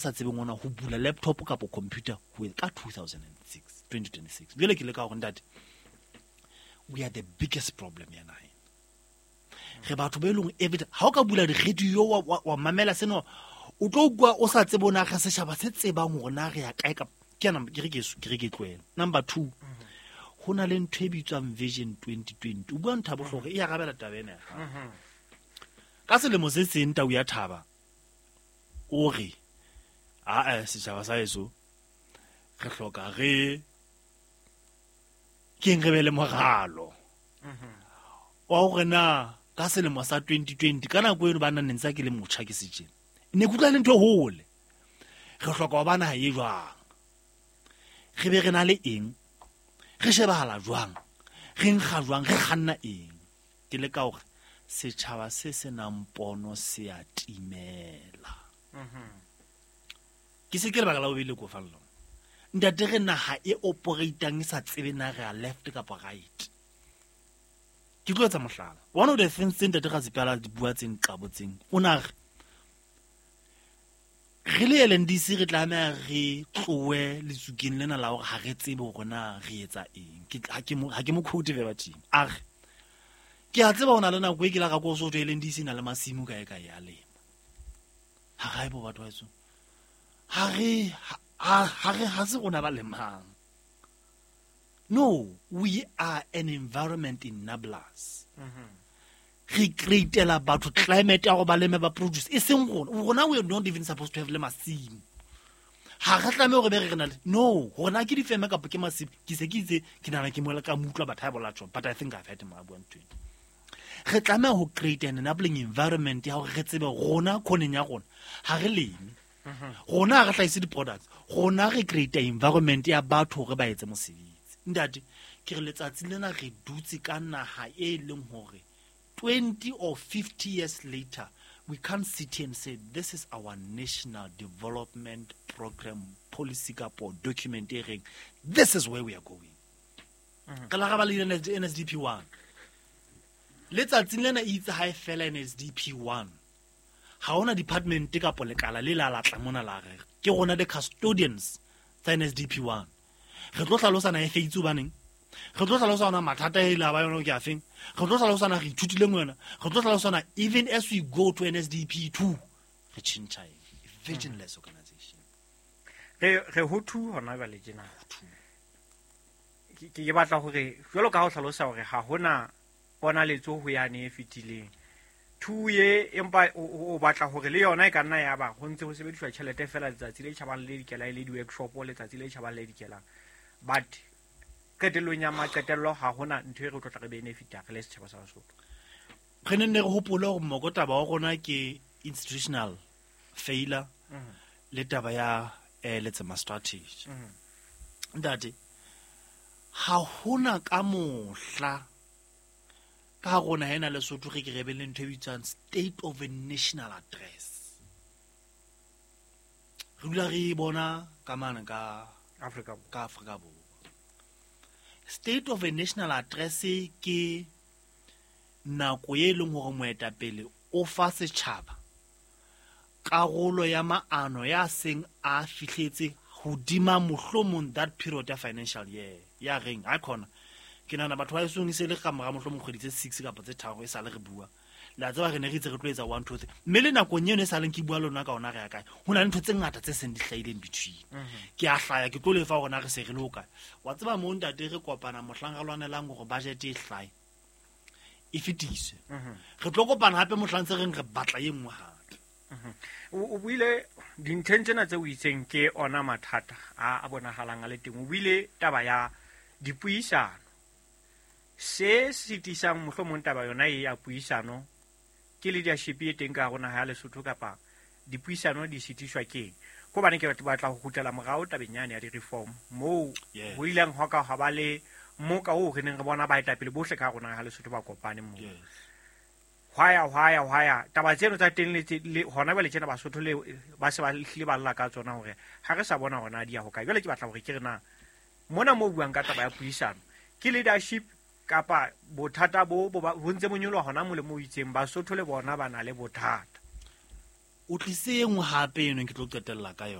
Sa tsebeng ona ho bula laptop kapa computer ho ka 2006 2026. Jwale ke le ka hore, ntate, we are the biggest problem ya naheng. Re batho ba e leng every ha o ka bula di-radio wa mamela seno, o tlo ukwa o sa tsebe ona re setjhaba se tsebang hore na re ya kae. Ka ke yana ke re ke tlohela. Number two, ho na le ntho e bitswang Vision 2020. O bua ntho ya bohlokwa, e arabela taba ena ya hao. Ka selemo se seng, tau ya thaba o re, "Aa, setjhaba sa heso, re hloka re keng re be le moralo wa hore na ka selemo sa 2020." Ka nako eno ba nna ne ntse ke le motjha, ke setjena, ne ke utlwa le ntho e hole. Re hloka ho ba naha e jwang? Re be re na le eng? Re shebahala jwang? Re nkga jwang? Re kganna eng? Ke le ka hore setjhaba se se nang pono se a timela. Ke se ke lebaka la bobedi le ko fang lona, ntate. Re naha e operatang e sa tsebe na re a left kapa right. Ke tlo etsa mohlala. One of the things tse ntate Ratsipela di bua tse nqabotseng, o na re re le LNDC re tlameha re tlohe letsukeng lena la hore ha re tsebe hore na re etsa eng. Ha ke mo quote verbatim. A re, ke a tseba ho na le nako e ke la ka ko so LNDC na le masimo kae kae ya lema. Ha gae bo batho ba etsong, ha re ha se rona ba lemang. No, we are an environment enablers. Re createla batho climate ya go ba leme, ba produce, e seng rona. Rona, we are not even supposed to have le masimo. Ha re tlameha hore be re re na le no rona ke difeme kapa ke masimo. Ke se ke itse ke nahana ke mola ka mo utlwa batho ha bola tjho, but I think I've heard him a bua ntho eno. Re tlameha ho create an enabling environment ya hore re tsebe rona khoneng ya rona ha re leme, rona ha re hlahise di-products, rona re create environment ya batho hore ba etse mosebetsi. Ntate, ke re letsatsi lena re dutse ka naha e leng hore 20 or 50 years later we can't sit here and say this is our national development program, policy kapo document e reng this is where we are going. Re la ra ba le NSDP 1. Letsatsing lena e itse ha e fela NSDP 1, ha hona department kapo lekala le la latla mona la re ke rona the custodians tsa NSDP 1. Re tlo hlalosana e feitse hobaneng, re tlo hlalosa ona mathata e la ba yona ke afeng, re tlo hlalosana re ithutileng yona, re tlo hlalosana even as we go to NSDP 2 re tjhentjha eng. Visionless organization. Re ho two hona jwale tjena. Ke batla hore jwalo ka ha o hlalosa hore ha hona ponaletso ho yane e fetileng two ye, empa o batla hore le yona e ka nna ya ba ho ntse ho sebediswa tjhelete fela letsatsi le tjhabang le dikelang, e le di-workshop letsatsi le tjhabang le dikelang, but qetellong ya maqetello ha hona ntho e re tlo tla re benefita re le setjhaba sa Basotho. Re ne nne re hopole hore mokotaba wa rona ke institutional failure le taba ya Letsema strategy. Ntate, ha hona ka mohla ka rona hena Lesotho re ke re be le ntho e bitswang state of a national address. Re dula re e bona ka mane ka Afrika Borwa. Ka Afrika Borwa. State of a national address ke nako e leng hore moetapele o fa setjhaba karolo ya maano ya seng a fihletse hodima mohlomong that period ya financial year ya reng ha khona. Ke nahana batho ba esong e se le ka mora mohlomong kgwedi tse 6 kapa tse 3 e sale re bua. Le a tseba re ne re itse re tlo etsa 1 2 3, mme le nakong eno e sa leng ke bua le lona ka ona re ya kae, ho na le ntho tse ngata tse seng di hlahileng between. Ke a hlaya, ke tlo lefa hore na re se re le hokae. Wa tseba moo, ntate, re kopana mohlang re lwanelang hore budget e hlae, e fetiswe. Re tlo kopana hape mohlang tse reng re batla e nngwe hape. O buile dintlheng tsena tse o itseng ke ona mathata a bonahalang a le teng. O buile taba ya dipuisano se sitisang mohlomong taba yona e ya puisano ke leadership e teng ka hare ho naha ya Lesotho, kapa dipuisano di sitiswa keng? Ko bane ke batla ho kgutlela morao tabeng yane ya di-reform moo ho ileng hwa ka hwa ba le moka oo re neng re bona baetapele bohle ka hare ho naha ya Lesotho ba kopane moo. Hwaya hwaya hwaya taba tseno tsa teng le hona jwale tjena Basotho le ba se ba hlile ba lla ka tsona hore ha re sa bona hona di ya hokae. Jwale ke batla hore ke re na mona mo buang ka taba ya puisano ke leadership kapa bothata bo ntse bo nyoloha hona mo le mo itseng Basotho le bona ba na le bothata? O tlise e nngwe hape eno ke tlo qetella ka yona.